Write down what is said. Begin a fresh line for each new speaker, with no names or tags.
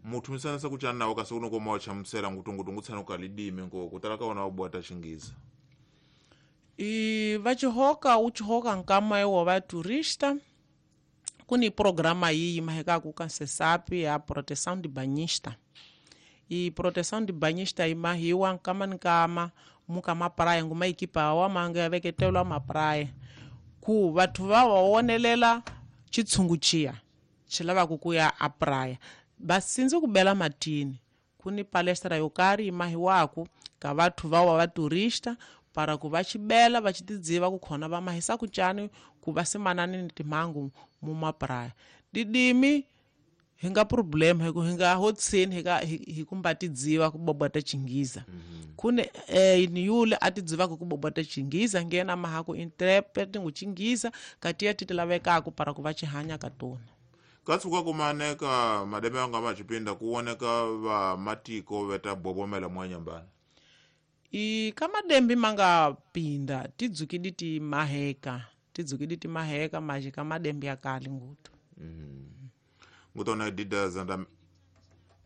Muthu misanisa kuchana nawo kasi unokoma wachamusela ngutungutu ngutsana ukalidime ngo kutala kaona wabwata chingiza.
E vachihoka uchihoka nkama iwo va turista kuni programa iyi mahekaku ka sesapi ya proteção de banhista. E proteção de banhista imahiwa nkama nkama muka mapraia nguma ekipa awa manga yaveketelwa mapraia ku vathu va wawonelela chitshungu chiya chilavaku kuya a praia basindzi ku bela matini kuni palestra yo karhi imahiwaku ka vathu vawa va turista para ku va chibela va chitidziva ku khona va mahisa ku cani ku va simanani ni timhangu mu mapraya didimi hi nga problem hi ku hi nga hotsini hi ka hi kumba tidziva ku bobota chingiza. Kune ni yule a tidziva ku bobota chingiza ngena maha ku interpret ngu chingiza katiya ti lavekaku para ku va chihanya ka tona.
Katsuka kumaneka mademe anga machipinda kuoneka va matiko veta bobomela mwanyambana.
I kamadembi manga pinda tidzukidi ti maheka tidzukidi ti maheka maji kamadembi akali ngutu.
Ngutona dida zanda